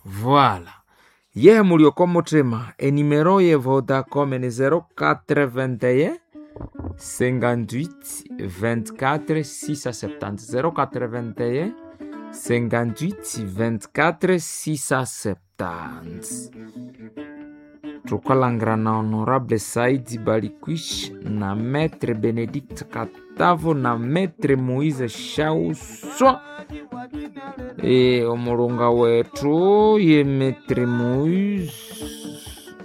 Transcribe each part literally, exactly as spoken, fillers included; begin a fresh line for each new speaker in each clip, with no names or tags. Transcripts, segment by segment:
Voilà. Yehe muli oko muthima enimero ye Vodacom ni zero quatre-vingt-un cinquante-huit vingt-quatre six cent septante zero quatre-vingt-un cinquante-huit vingt-quatre six cent septante. Tukalhangira na Honorable Saidi Balikwishi na Maître Benedict Katavo na Maître Moise Shauswa. E, omulunga wethu ye Maître Moise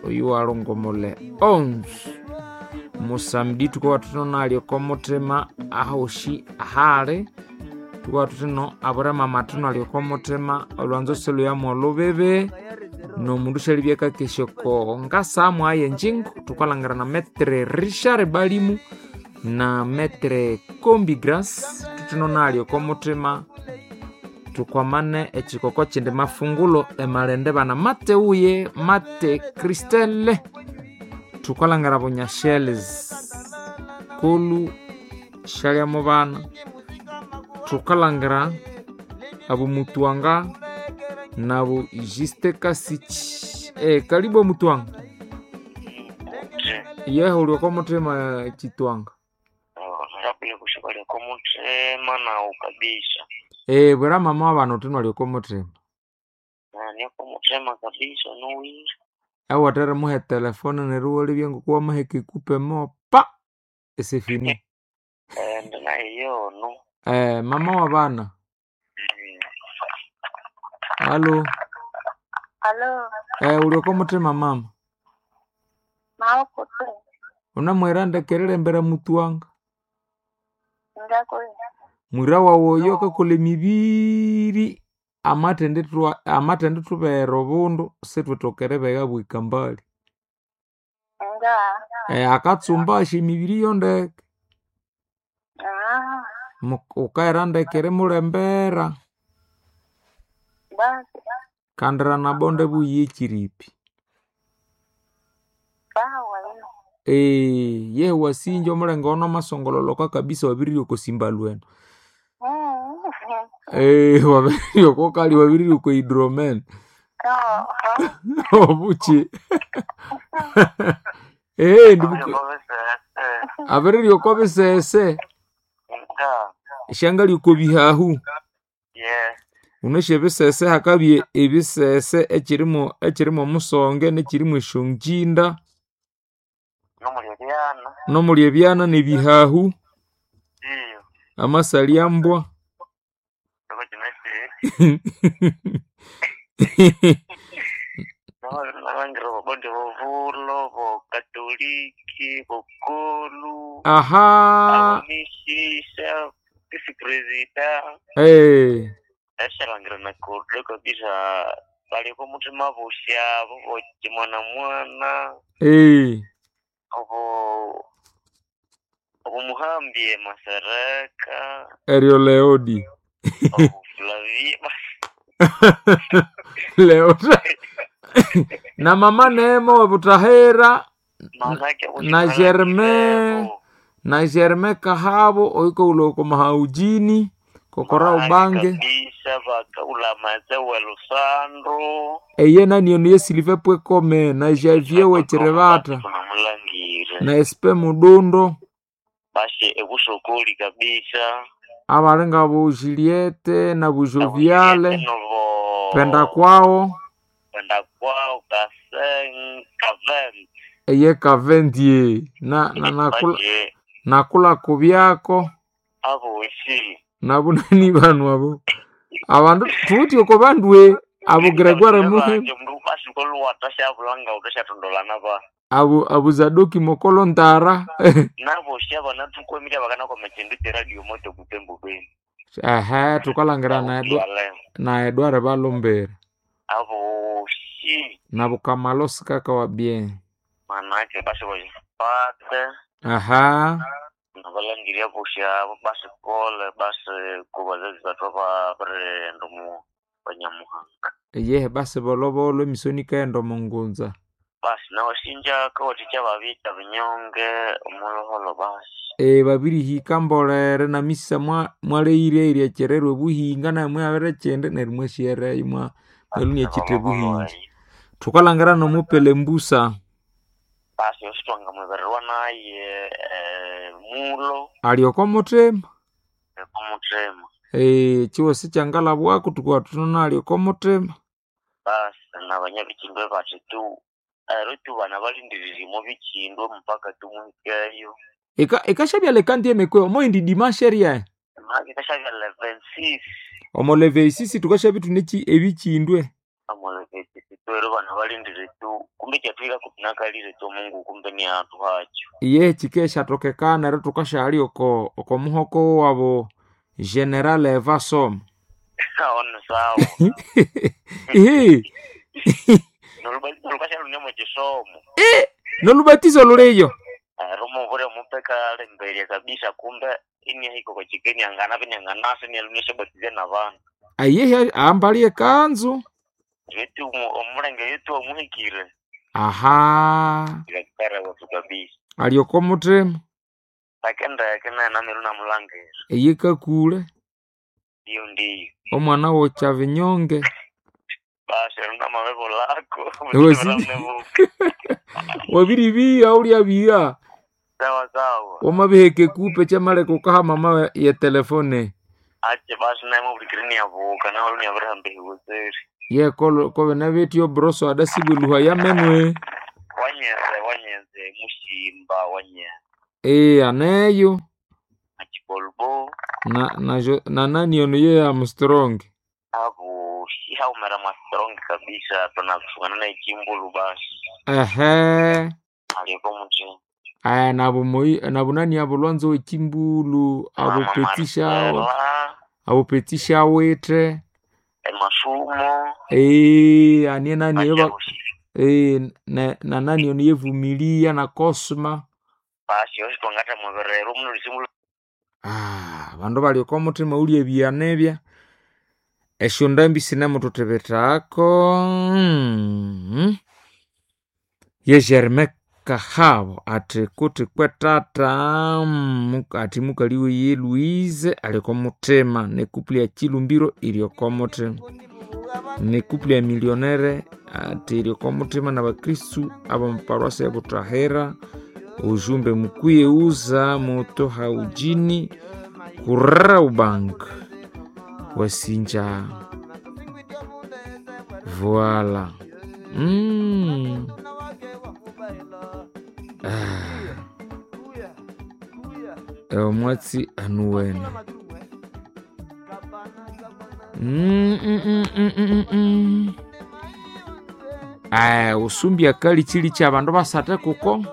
oyu walongomole onze musamdi tukawa thuthino nalyo okomuthima ahoshi ahali tukawa thuthino abulema amathu nalyo okomuthima olwanzo silhuyamu olubibi nomundu syalibya akakesya oko ngasamu aye enjingo tukalhangira na Maître Richard Balimu na Maître Kombi Grace thuthino nalyo okomuthima tukwamane ekikoko kindi mafungulo emalende bana mate uye mate Christelle tukalhangira bunyashelezi kolu shalya mubana tukalhangira abo mutwanga nabo Juste Kasichi e, karibu mutwanga yehe uli oko muthima chitwanga
Rapile kushika oko muthima nawu kabisa
e, bwera mama wabana uthino ali oko muthima
nani oko muthima kabisa nuwire
awathere muhe telefone neryo iwalebya ngoku wamaheka ekupe mopa esefini
ende nayo yono
eh, mama wa bana halo
Alo,
eh, uli oko muthima mama
maokutwe
unamwira ndekererembera mutwanga
ngakwe
mwira wawu oyo akakolha emibiri amathendithwa amathendithubera obundu sithwithoka eribegha bwika mbali
nga
eh, akatsumba asya emibiri yondeke
ah
Mu- wukaghira ndeke erimulembera
basi
kandira nabonde buyi ekiripi
sawa lino
Eh, yehe wasinja omulenge ono amasongololoka kabisa wabirirya oko simbalweno
Mm.
Eh, wabirirya oko kali wabirirya oko hydromen
Oh,
obuki Eh, ndibuka abirirya oko bisese
nga
esyangali oko bihahu
ye
unesha ebisese hakabya ebisese ekirimu ekirimu omusonge nekirimu esyongyinda
nomuli ebyana
nomuli ebyana nebihahu
iyo
amasalyambwa
oko kino ki nabangira bobondi bobulo bokatoliki bokolu
aha
abomisisa visi presida
eh
eshalangira na kudo kabisa baliko muthima bosyabo bokimwana mwana
eh
obo obumuhambie masereka
eryo leodi
obu Flavia
leota na mama Neema wa Butahera
manake
na Germain na Germain Kahabo oiko uloko mahaujini kokora ubange
kabisa bakaulamaze welusandro
eye naniyo ye Sylvain Pwekome na Javier Wecherevata
namulangire
na S P Mudundo
basi ekusokoli kabisa
abalinga bu Juliette na bu Joviale
novo
penda kwao
penda kwao kasen kaven
eye Kavendie na, na nakula,
baje
nakula kubyako
abosi
nabunani banu abo abandu thuthi oko bandwe abo Gregoire Muhe
banje mndu basi koluwata syabulanga utashatondolana ba
abo abo Zadoki Mokolo Ntara
nabosi abana tukwemile bakanakoma chindu cheradio moto kutembo beni
ehe tukalangira na Edwa- na Edward Balombere
abosi
na Bukamalosi kaka wa bien
manake basi bajipate
aha
nabalangiria bosi abo basi kole basi kubazazi batu ababarendo mu banyamuhanga
yehe basi bolobolo emisoni ikaghenda omungunza
basi nawasinja kawathikya babita binyonge omuloholo basi
e babirihika mbolere na misa mwa mwaleire eryachererwa obuhinga naye mwabere chende neryo mwasyereyo mwa Nelunia chitebuhinji. Tukalangira nomupele mbusa.
Basi ositwanga mwebererwa naye eh, mulo
Alioko mutima.
omuthema.
Eh, chiwosi kyangalabwako tukuwa tunona alioko mutima.
Basi nabanyabikindwe bati tu ero tu bana balindiririmo bikindwe mpaka tumuhikeyo.
Eka ekashabyaleka ndiye mekwe omoindi dimanche ria.
Maki kashabya level six.
Omoleve isisi tukashabya tuneki ebichindwe.
Amolevesisi tu ero bana balindire tu kumbe kyatwika kupinakalire tu Mungu kumbe ni atu hacho.
Iye chikeshatokekana ero tukashali oko oko muhoko wabo General Eva Som.
Aono sawa.
Ihi,
Nolukasha lunemo chisomo.
nolubatizo luleyo.
Ero muvure mupeka lemberia kabisa kumbe inihiko kwa chikeni angana pinyanganasi nialunishabatize na vandu.
Ayehe ambalie kanzu.
Yetu omulenge yetu omuhikire.
Aha,
Ikakara watu kabisa.
alioko mutima.
Takendeke nena miru namulangira.
Iye kakule
Ndiyo ndiyo.
omwana wocha vinyonge.
Basi ero namabebo lako.
Wesi-
Mutimuramnevuka.
Wabiribia ulyabia.
Sawa sawa.
Wamabiheke kupe chamaleka ukaha mama ya telefone.
Ache basi naye mubulikire niyavuka nawe luniyabirambe hiwezeri.
Ye kolo kobe nabetyo broso adasibwe luha yamenwe.
Wanyeze wanyeze mushimba wanyeze.
Eh aneyo
Achikolbo
na na jo- na nani ono ye Armstrong.
abo shihaumera mastrong kabisa tunafungana na ichimbulu basi.
Ehe.
Aliyeko mtu
Aya nabo moi nabo nani abo lwanzo wechimbulu abo
Mama
petisha
Marcela,
abo petisha wete.
emasumo
Eh anie nani yoba
achabushi.
eh na, na nani ono yevumilia na Cosma.
Basi yosi twangata mweberero muno lisimulu
Ah, bandu balioka omutima ulya ebyanebya esyo ndambi sinemuthuthibithako. Mm. Ye Germain Kahabo athi kuti kwetata mm, athi mukali wiye Louise alioka omutima nekupuli ya Chilumbiro ilioka omutima nekupuli ya millionaire ati ilioka omutima na bakristu abamuparuasa ya Butahera ujumbe mukwiye uza moto haujini kuraubank wasinja voila mm. Ah. Omwatsi anuwene mm, mm, mm, mm, mm, mm. Aya usumbi akali chili cha bandu basate kuko.